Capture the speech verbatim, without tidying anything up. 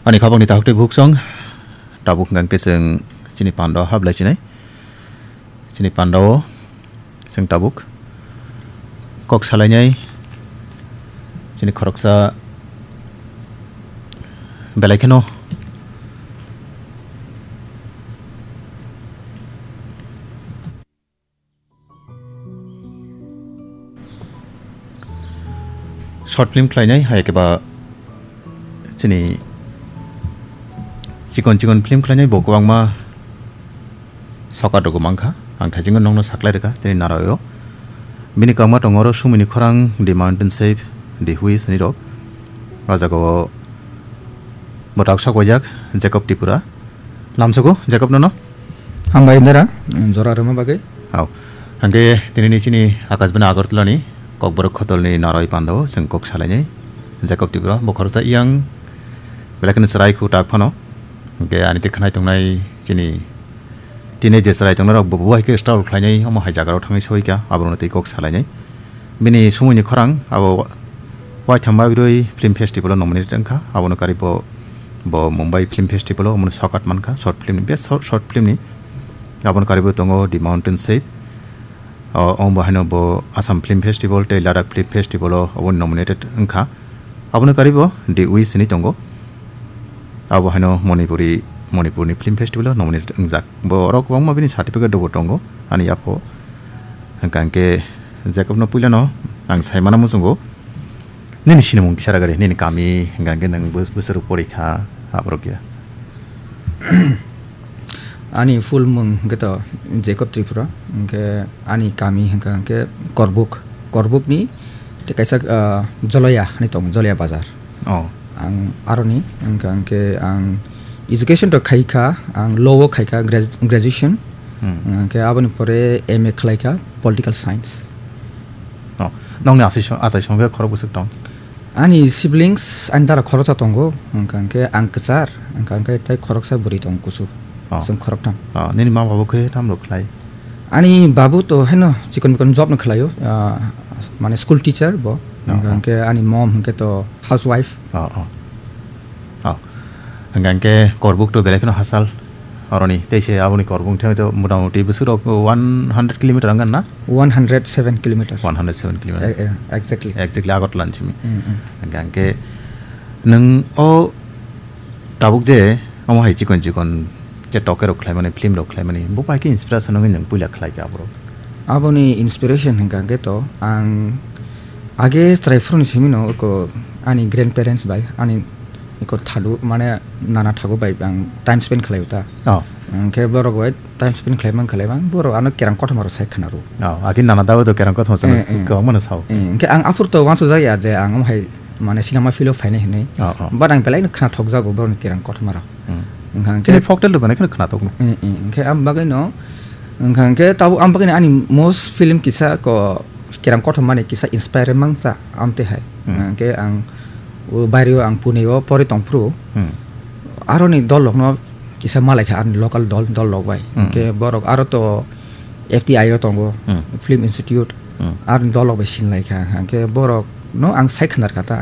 Ani khabangni takhuk tei bukhuk song, tabuk hwnkha khe chwng chini pandao hablai chinai. Chini pandao chwng tabuk kok salainai chini khoroksa belai kheno short film khlainai, hai khe ba chini chikon chikon film khlainai bo kwbangma sokat rwgo mankha. Ang thaichingno nokno saklai rwkha tini Naraio. Bini kwbangma tongo oro Sumini Khorang, The Mountain Shape, The Wish ni rok. O jaga o bo tak sok waijak Jacob Tripura. Lamsogo Jacob nono. Hambai dara, jora rwma bagwi. Hao. Hwnkhe tinini chini Akashbani Agartala ni Kokborok Khotol ni Naroi Pandao chwng kok salainai. Jacob Tripura bo khoroksa yang belai kheno chwrai khu tak phano. Hwnkhe ani tei khwnai tongnai chini tini je chwrai tongnai rok bo bo hai khe struggle khlainai omo hai jaga rok thangwi soi kha abono tei kok salainai. Bini Sumuni Khorang abo Waitham Babiroi Film Festival o nominated wngkha, abono kari bo, bo Mumbai Film Festival o omono sokat mankha, short film ni, best short, short film ni. Abono kari bo tongo The Mountain Shape, o, omo haino bo Assam Film Festival tei Ladakh Film Festival o obo nominated wngkha. Abono kari bo The Wish hinwi tongo. Abo haino Manipuri, Manipurni Film Festival o nominated wngjak. Bo oro kwbangma bini certificate rokbo tongo, ani yapho. Hwnkha hwnkhe Jacob no puilano ang saimano muchungo. Nini sinimung kisa ragari, nini kami hwnkha hwnkhe nwng bus-, bwswrwk porikha, aborok ya. Ani full mung hwnkhe to Jacob Tripura, hwnkhe ani kami hwnkha hwnkhe Korbuk, Korbuk ni tei kaisa, ah, Joloya hinwi tongo, Joloya bazar. Oh. Ang aroni hwnkha hwnkhe ang education to khaikha, ang law o khaikha grad-, graduation. Hmm. Hwnkhe aboni pore M A khlaikha political science. Oh. Nongni asai song, asai song khe khorok bwswk tong? Ani siblings, ani dara khoroksa tongo, hwnkha hwnkhe ang kwchar, hwnkha hwnkhe tei khoroksa bwrwi tongo kusu. Oh. Chwng khoroktham. Oh, nini mama bo khe tamo rok khlai? Ani babu to haino chikon mikon job no khlaio, ah, mane school teacher bo. Oh, hwnkha oh. Hwnkhe ani mom hwnkhe to housewife. Oh, oh. Oh. Hwnkha hwnkhe Korbuk to belai kheno hachal oroni. Tei se aboni Korbuk thang to motamoti bwswk rok one hundred kilometer wngkha na? One hundred seven kilometers. One hundred seven kilometer. Eh, eh, exactly. Exactly, Agartala ni simi. Mm, mm. Hwnkha hwnkhe nwng o tabuk je omo hai chikon chikon je toke rok khlaimani, film rok khlaimani, bo pai khe inspiration wngwi nwng puila khlai kha aborok? Aboni inspiration hwnkha hwnkhe to ang age chwrai phuru ni simi no eko ani grandparents bai ani eko thadu mane nana thagu bai ang time spend khlai ta. Oh. Hwnkhe borok bai time spend khlai mang khlai mang borok ano kerang kothoma rok sai khna rw. Oh, agi nana dawi do kerang kothoma chwng Eh, eh. Kwbangma no sao. Eh, hwnkhe ang aphuru to uansuk jak ya je ang omo hai mane cinema field o phainai hinwi. Oh, oh. But ang belai no khna thok jago borok ni kerang kothoma rok. Hmm. Hwnkha hwnkhe Khe folktale rok belai kheno khna thok no. Eh, eh, hwnkhe ang bagwi no, hwnkha hwnkhe tabuk ang bagwi no ani most film kisa ko kerang kothoma ni kisa inspire mang cha amte hai. Hmm. Hwnkhe ang o bairi o ang Pune o pori tong phuru. Hmm. Aroni dol rok no kisa malai kha ani local dol, dol rok bai. Hmm. Hwnkhe borok aro to F T I o tongo, Hmm. Film Institute, Hmm. aroni dol rok bai sin lai kha. Hwnkhe borok no ang sai khnar kha ta,